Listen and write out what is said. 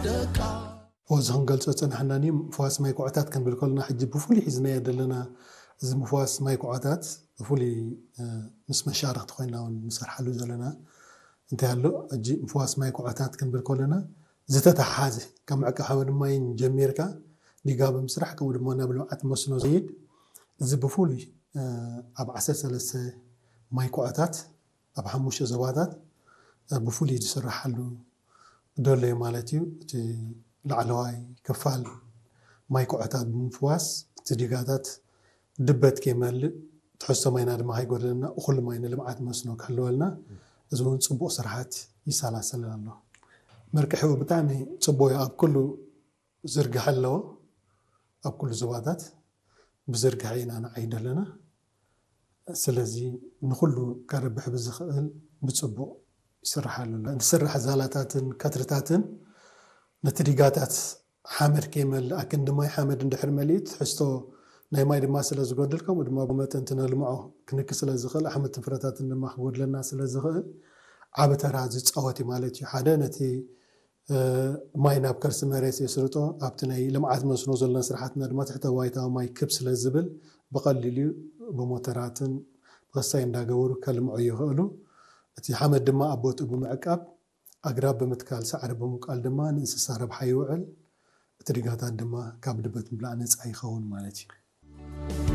እዚ ክንገልጾ ዝጸናሕና ምፍዋስ ማይ ኩዖታት ክንብል ከለና ሕጂ ብፍሉይ ሒዝናዮ ዘለና እዚ ምፍዋስ ማይ ኩዖታት ብፍሉይ ምስ መሻርክቲ ኮይና እውን ንሰርሓሉ ዘለና እንታይ ኣሎ። ሕጂ ምፍዋስ ማይ ኩዖታት ክንብል ከለና ዝተተሓሓዘ ካብ ምዕቃብ ሓመድ ማይን ጀሚርካ ዲጋ ብምስራሕ ከምኡ ድማ ናብ ልምዓት መስኖ ዝይድ እዚ ብፍሉይ ኣብ ዓሰርተ ሰለስተ ማይ ኩዖታት ኣብ ሓሙሽተ ዞባታት ብፍሉይ ዝስራሓሉ ደሎ እዩ ማለት እዩ። እቲ ላዕለዋይ ክፋል ማይ ኩዖታት ብምፍዋስ እቲ ዲጋታት ድበት ከይመልእ ትሕዝቶ ማይና ድማ ከይጎድለና እኹል ማይ ንልምዓት መስኖ ክህልወልና እዚ እውን ፅቡቕ ስርሓት ይሰላሰል ኣሎ። መርቅሒኡ ብጣዕሚ ፅቡቕ እዩ። ኣብ ኩሉ ዝርግሐ ኣለዎ። ኣብ ኩሉ ዞባታት ብዝርግሐ ኢና ንዓይድ ኣለና። ስለዚ ንኹሉ ከረብሕ ብዝኽእል ብፅቡቕ ይስርሓሉ ኣሎ። ዝስራሕ ዛላታትን ከትርታትን ነቲ ዲጋታት ሓመድ ከይመልእ ኣክንዲ ማይ ሓመድ እንድሕር መሊኡ ትሕዝቶ ናይ ማይ ድማ ስለ ዝጎድል ከምኡ ድማ ብመጠን እቲ ነልምዖ ክንኪ ስለ ዝኽእል ኣሕምልትን ፍረታትን ድማ ክጎድለና ስለ ዝኽእል ዓቢ ተራ ዝፃወት እዩ ማለት እዩ። ሓደ ነቲ ማይ ናብ ከርሲ መሬት የስርጦ ኣብቲ ናይ ልምዓት መስኖ ዘለና ስራሕትና ድማ ትሕተ ባይታዊ ማይ ክብ ስለ ዝብል ብቐሊሉ ብሞተራትን ብኸሳይ እንዳገበሩ ከልምዑ ይኽእሉ። እቲ ሓመድ ድማ ኣብ ቦትኡ ብምዕቃብ ኣግራብ ብምትካል ሳዕሪ ብምብቃል ድማ ንእንስሳ ረብሓ ይውዕል። እቲ ድጋታት ድማ ካብ ድበት ምብላዕ ነፃ ይኸውን ማለት እዩ።